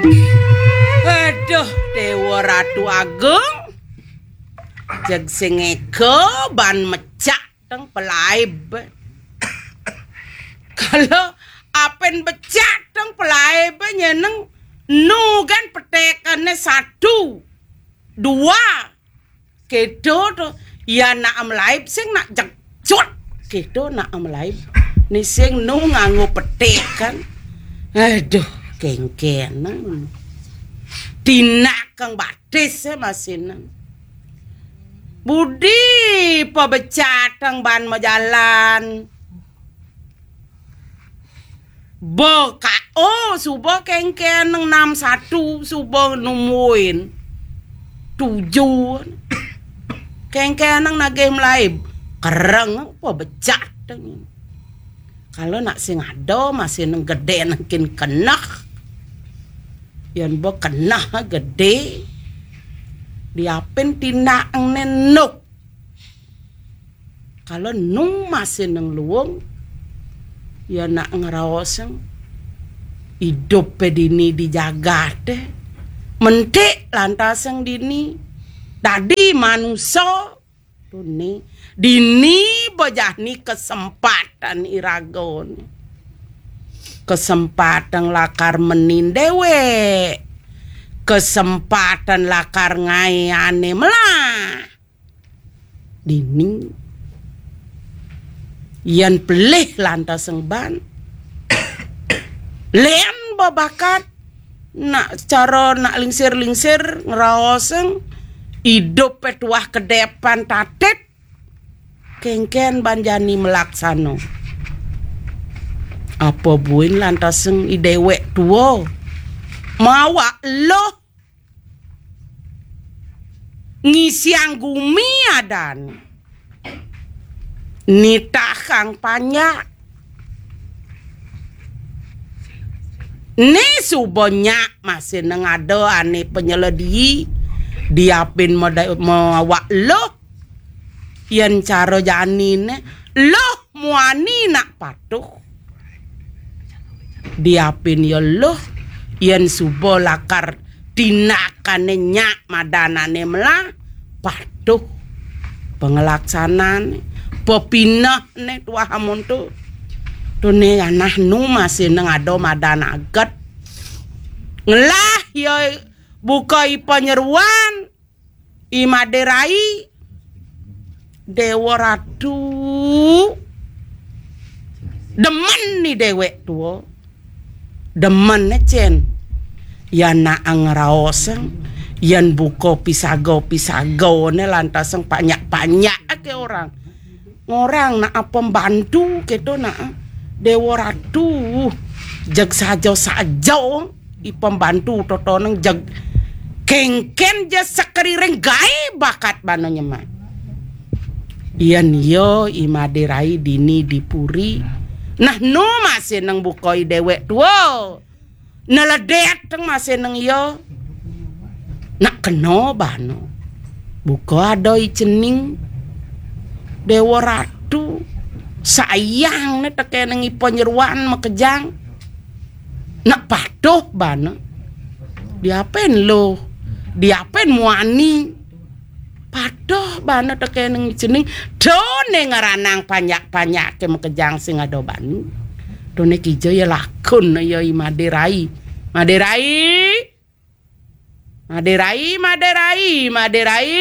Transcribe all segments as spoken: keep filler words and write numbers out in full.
Aduh, Dewa Ratu Agung. Jeg sing ega ban mecak teng pelaib. Kalau apen becak teng pelaib nyeneng nu kan petekane satu, dua. Kedo to, ya nak melaib sing nak jekcut. Kedo nak melaib. Ni sing nu nganggo petek kan. Aduh, kengkeneng. Tinak kang batis ya masinan. Budi pabecatang ban majalan. Bo ka o suba kengkeneng enam satu suba numuin tujuh. Kengkeneng nagih melaib. Kereng apa becatang. Kalau nak sing ada masih neng gede nengkin keneh. Yan bo keneh gede. Diapin tindak nenuk. Kalau nu masih neng luung, ya nak ngeraoseng idup pe dini di jagate. Mentik lantaseng dini. Dadi manusa. Tuni, dini bejani kesempatan iragone. Kesempatan lakar menin dewek. Kesempatan lakar ngayane melah. Dini. Yan pelih lantaseng ban. Len babakat. Nak cara nak lingsir-lingsir ngeraoseng. Idup pe tuah kedepan tatit. Kengken ban jani melaksana. Apa buin lantaseng i dewek tua. Mawa loh. Ngisiang gumi adan. Nitahang panjak. Ni suba nyak masih neng ada ane penyeledi. Diapin meda-, mawa loh. Yen cara janine, loh muani nak patuh. Diapin ya loh, yen suba lakar tinakane nyak madanane melah, patuh. Pengelaksanane, pepinehne tuah amonto. Tune anah nu masih neng ada madan aget. Ngelah ya buka i panyeruan, i Maderai, Dewa Ratu. Demen ni dewek tua. Demen ne cen. Ya nak ngeraoseng, yan buka pisaga-pisaga ne lantaseng panyak-panyak ke orang. Ngorang nak pembantu keto nak Dewa Ratu. Jeg saja-saja i pembantu totoneng jeg kengken je sekeriring gae bakat bana nyemak. Yan ya i Maderai dini di puri. Nah nu masih neng buka i dewek tua. Neledet teng masih neng iya. Nak kena bana. Buka ada i cening. Dewa Ratu. Sayang ne tekeneng i panyeruan makejang. Nak patuh bana. Diapen lo. Diapen muani. Patuh bana tekeneng cening. Done ngeranang panyak-panyak ke makejang sing ada bani. Done kija ya lakun ya i Maderai. Maderai. Maderai, Maderai, Maderai.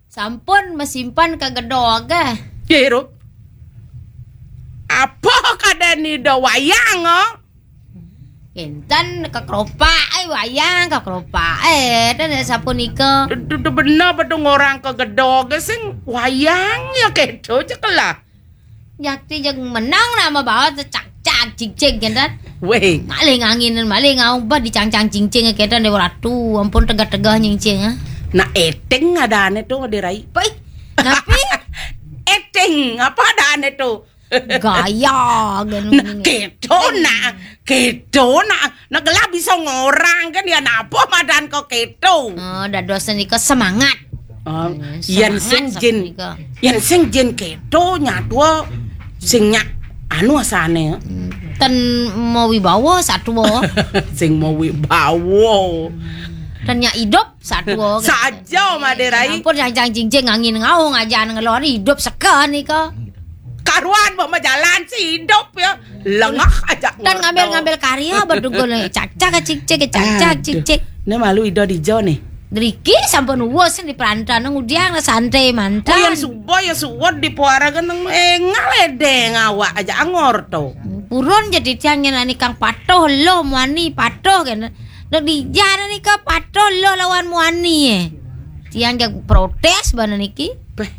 Sampun masimpan ka gedog. Ye, Rup. Apa kadani da wayang, oh? Kenten ka keropak, eh, wayang ka keropak. Eh, dan sapunika. Duh, duh, bener betul ngorang ka gedog sing wayang ya keto je kelah. Jakti jeg menang nama bawa cak-cak cing-cing kenten. Weh. Malih ngangin, malih ngaung bah dicang-cang cing-cing kenten Dewa Ratu. Ampun tegah-tegah nying-cing, ah. Nak eting ada ane tu Maderai. Pai, ngapi? Eting, apa ada ane tu? Gaya, genu. Nah, keto nak, keto nak, nak gelah bisa ngorang kan ya napa madan kok keto. Oh, dados nika semangat. Oh, eh, yen sing jin, yen sing jin keto nyatua sing nyak Anu asane. Hmm. Ten mawibawa satua. Sing mawibawa. Ten nyak idup satua. Saja, Made Rai. Ampun, jang-jang jingjing angin ngau ngajan ngelor idup seken nika. Karuan mbok majalan si idup ya. Lengah aja. Ten ngambil-ngambil karya bedugul cacak cicik cacak cicik. Ne malu ida dija ne. Driki sampun uwus di perantauan ngudiang santai mantan. Oh, yang suba ya suwed di puara geneng engal edeng awak aja angor to. Purun jadi tiang nyen ani kang patuh lo muani patuh kene. Dek dijana nika patuh lo lawan muani eh. Tiang jag protes bana niki. Peh.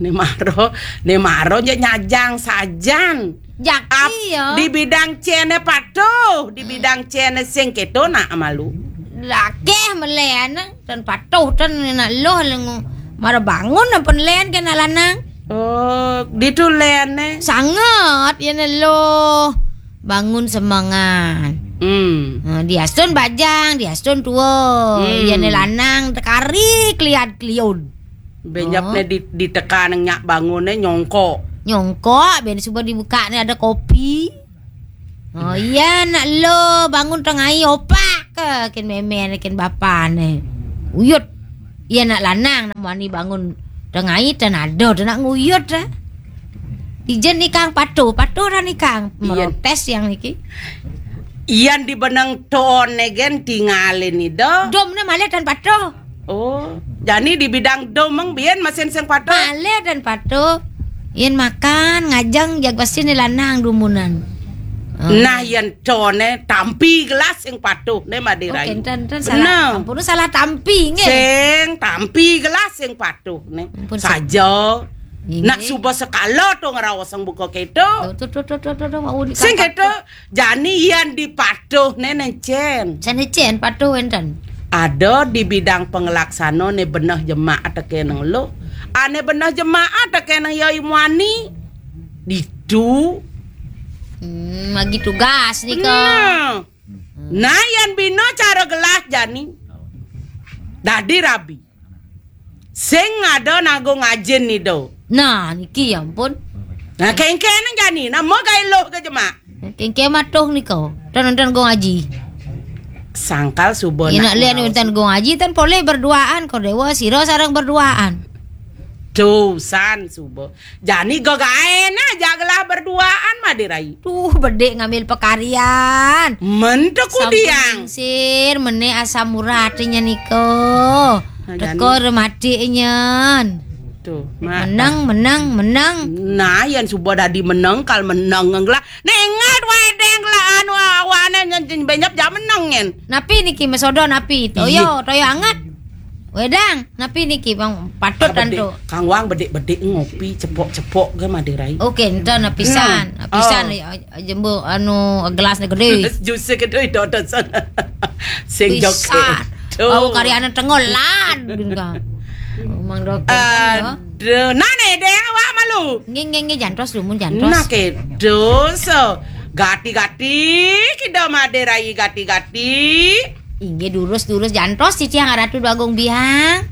Ne maro, ne maro ja nyajang sajan. Jak iya. Di bidang cene patuh, di bidang cene sing keto nak malu. Lakeh melen, ten patuh, ten nak loh lengu. Mara bangun apa len kena lanang. Oh, ditu lene. Sangat, ya ne loh. Bangun semangat. Hmm. Nah, diastun bajang, diastun tua. Hmm. Ya ne lanang tekari keliat keliun. Benyap ne di, ditekan nyak bangun ne nyongkok. Nyongkok, ben suba dibuka ne ada kopi. Oh iya, nak lo bangun tengai opak ke kin meme ne kin bapa ne. Uyut. Iya nak lanang nak muani bangun tengai ten ada tu nak nguyut eh. Ijen ni kang patuh, patuh dah ni kang. Iya. Merotes yang niki. Iyan di beneng ton ne gen tingalin ni do. Dom ne malih tan patuh. Oh, jani di bidang dom meng bien masin sing patuh. Malih tan patuh. Yen makan ngajeng jag pasti ne lanang dumunan. Oh. Nah, yen tone tampi gelas sing patuh ne Made Rai. Oke, enten, enten salah. Bener. Ampun, salah tampi nggih. Sing tampi gelas sing patuh ne. Ampun, saja. Nggih. Nak suba sekala to ngraos sing buka keto. Tuh, tuh, tuh, tuh, tuh, tuh, tuh, wau ni sing kakak keto. Jani yan dipatuh ne nencen. Sane cen patuh enten. Ada di bidang pengelaksana ne beneh jemak teke neng lo. Ane beneh jemak teke neng yai muani. Ditu. Hmm, bagi tugas nika. Nah. Nah, yan bina cara gelah jani. Dadi rabi. Sing ada nagung ajin ni do. Nah, niki ya ampun. Nah, kengkene jani, nama gai loh ke jemak. Kengke matuh nika. Tan enten gong aji. Sangkal suba. Ina nak lian mau enten gong aji tan poleh berduaan kau dewa sira sareng berduaan. Tusan suba. Jani gagaen aja gelah berduaan Made Rai. Tuh, bedik ngambil pekarian. Men teko sampun diang. Lingsir, mene asam urat nya niko. Nah, teko jani. Remati nyen. Tuh, menang, menang, menang. Nah, yan suba dadi menang, kal menang ngelah. Nengat wae deng lah anu awane nyen benyap ja menang nyen. Napi niki mesodo napi? Toyo, iya. Toyo anget. Wedang, napi niki bang patut. Ah, bedik. Tantu. Kang Wang bedik-bedik ngopi cepok-cepok ke Made Rai. Oke, enten napisan, nah. Napisan. Oh. Ya, jembo anu gelas ne gede. Jus gede dodo sana. Sing joget. Pisan. Tuh. Bau karyana tengol lad gini kan. Mang dokter. Aduh, nane deh awak malu. Nggih, nggih, nggih, jantos dumun jantos. Nah, kedo so. Gati-gati, kida Made Rai gati-gati. Inggih durus-durus jantos titiang Ratu Agung Biang.